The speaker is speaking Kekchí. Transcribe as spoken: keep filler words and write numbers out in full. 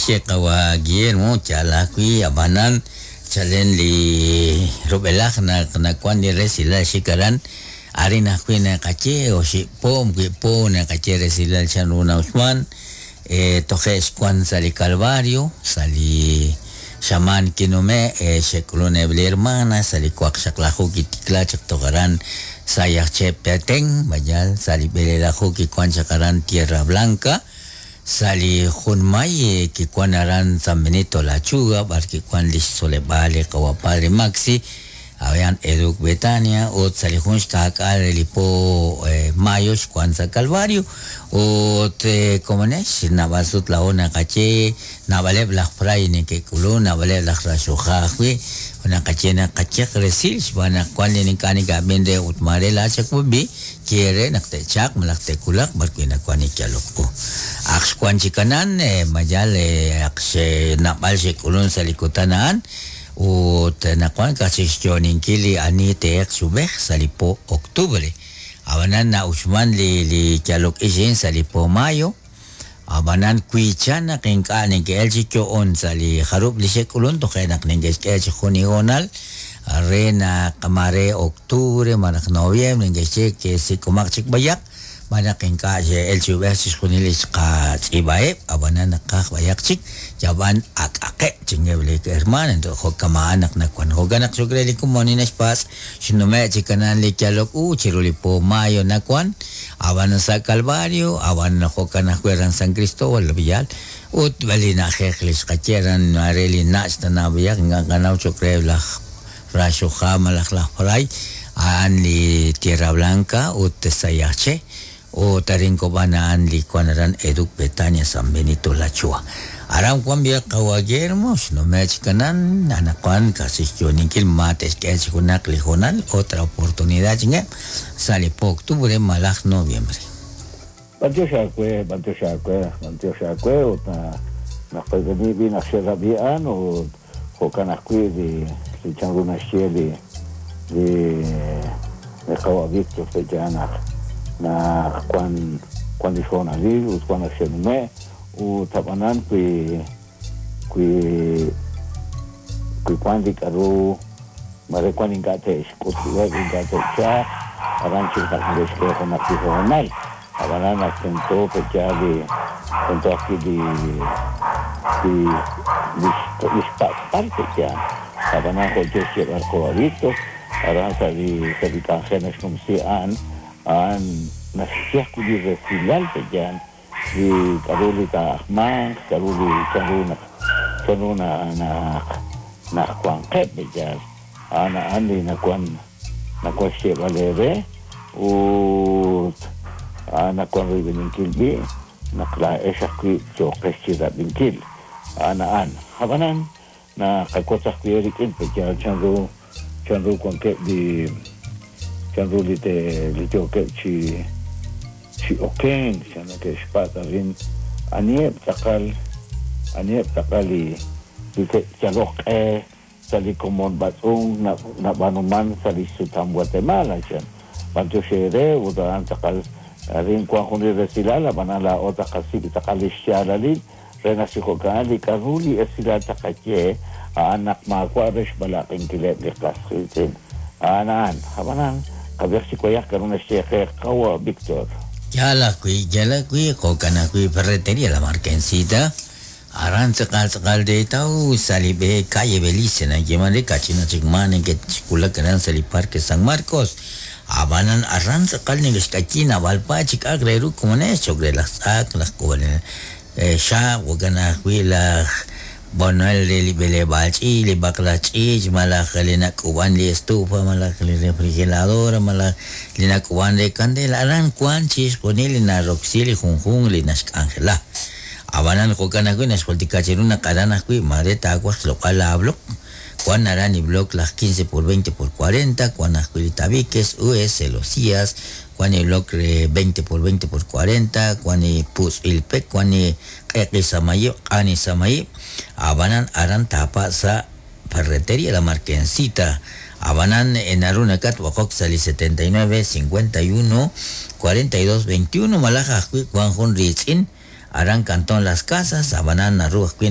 Xaxi qawa Guillermo yalajwi ab'anan chalen li rub'elaj naq nawan li resilal xikaran arin ajwi' naqaye oxib' po wib' po naqaye resilal chanru na'uxman eh, toje' xwan sa' li Calvario sa' li xamaan kinume' eh, xe'k'ulun eb' li hermana sa' li waqxaqlaju kitikla chaq toj aran sa' Yaxche Petén mayal sa' li b'elelaju kiwan chaq aran Tierra Blanca sa' li junmay eh, kiwan aran San Benito La Lechuga b'ar kiwan li xtzoleb'aal li qawa Padre Maxi aran Educ Betania ut sa' li jun xka'k'aal re li po eh, mayo xwan sa' Calvario ut eh, komonex naab'al sut laa'o naqaye naab'aleb' laj fray neke'k'ulun naab'aleb' laj raxuja ajwi' naqaye naqayeq resil xb'aan naq wan li ink'a' neka'b'in re ut maare laachakub'i kiere naq te'chaq malaj te'kulaq b'ar wi' nawan li yalok u aq xwan chikanan eh, mayal eh, aq xe'naab'al xe'k'ulun sa' li kutan a'an ut nawan kachik xyo'oninkil li ani te'eq xub'ej sa' li po octubre ab'anan na'uxman li li yalok ix sa' li po mayo ab'anan kuichan naq ink'a' neke'el chi yo'on sa' li jarub' li xe'k'ulun toje' naq neke'xk'e chi jun hoonal re naq mare octubre malaj noviembre neke'xye ke sik'umaq chik b'ayaq malaj ink'a' xe'el chi ub'ej chixjunil li xqatz'iib'aheb' ab'anan naqaj b'ayaq chik yab'an ak'aqeb' chingeb' li hermana entonces jo'kama'an naq nawan jo'kan naq xok re li komon naxpatz' xnume' chikanan li yalok u chiru li po mayo nawan ab'an sa' Calvario ab'an jo'kan ajwi' aran San Cristóbal Villal ut li na'ajej li xqaye aran mare li nach' tanab'iyaq ink'a' qanaw choq re laj raxuja malaj laj fray a'an li Tierra Blanca ut Sayaxché ut arin kob'an a'an li wan aran Educ Betania San Benito La Chua aran wan b'iyaq qawa Guillermo xnume' chikanan anaqwan kasi xyo'oninkil ma te'xk'e chi junaq li hoonal otra oportunidad chingeb' sa' li po octubre malaj noviembre. B'antiox aawe, b'antiox aawe, b'antiox aawe ut na naq b'i naq xe'rab'i'an ut jo'kan ajwi' li li chanru naxye li li li qawa Víctor pe'ya naq naq wan wan li xhoonalil ut wan naq xe'nume' ut ab'anan wi wi wi wan li k'aru mare wan ink'a' te'xk'utb'eb' ink'a' te'chaq aran chik naq neke'xk'e junaq li hoonal ab'anan naq tento pe'ya li tento ajwi' li li li li xpak'b'al pe'ya ab'anan jo' yo xyeeb'al qawa Víctor aran sa' li sa' li k'anjel naxnumsi a'an a'an naxye ajwi' li resilal pe'ya li k'aru li taa'ajmanq k'aru li chanru naq chanru na naq naq wanqeb' pe'ya a'an a'an li nawan nawan xyeeb'al eere ut a'an nawan royb'eninkil b'i' naq laa'ex ajwi' yooqex chi rab'inkil a'an a'an ab'anan naqawotz ajwi' rik'in pe'ya chanru chanru wankeb' li chanru li te li yookeb' chi chi okenk chan neke'xpatz' arin aniheb' tz'aqal aniheb' tz'aqal li li te'yaloq q'e sa' li komon b'atz'unk nab'aanuman sa' li xsutam Guatemala chan b'antiox eere ut a'an tz'aqal arin wan jun li resilal ab'anan laa'o taqasik' tz'aqal li xyaalalil re naq chi jo'kan li k'aru li esilal taqaye a'an naq maawa' re xb'alaq'inkileb' li qas qiitz'in a'an a'an ab'anan qab'ej chi wayaq k'aru naxye qe qawa Víctor. Yal ajwi' yal ajwi' jo'kan ajwi' Ferretería La Marquencita aran tz'aqal tz'aqal de taw sa' li b'e calle Belice nayeeman re kachina chik ma neke'xkulak aran sa' li Parque San Marcos ab'anan aran tz'aqal neke'xk'ayi naab'al pa chik ak re ru komonex choq re laj tz'aq laj k'ub'anel xaab' jo'kan ajwi' laj bonel re li b'eleb'aal ch'iich' li b'aqlaj ch'iich' malaj li nak'ub'an li estufa malaj li refrigeradora malaj li nak'ub'an re candela aran wan chixjunil li naroksi li junjunq li naxk'anjela ab'anan jo'kan ajwi' naxjultika chiru naq aran ajwi' mare taawaj xloq'al laablok wan aran li bloc laj quince por veinte por cuarenta wan ajwi' li tabiques U S celosías wan li bloc re veinte por veinte por cuarenta wan li putz'ilpek wan li q'eqi samayib' q'ani samayib' ab'anan aran tapa sa' Ferretería La Marquencita ab'anan naru nakatb'oqok sa' li setenta y nueve cincuenta y uno cuarenta y dos veintiuno malaj ajwi' wan jun riitz'in aran Cantón Las Casas, abanan naru ajwi'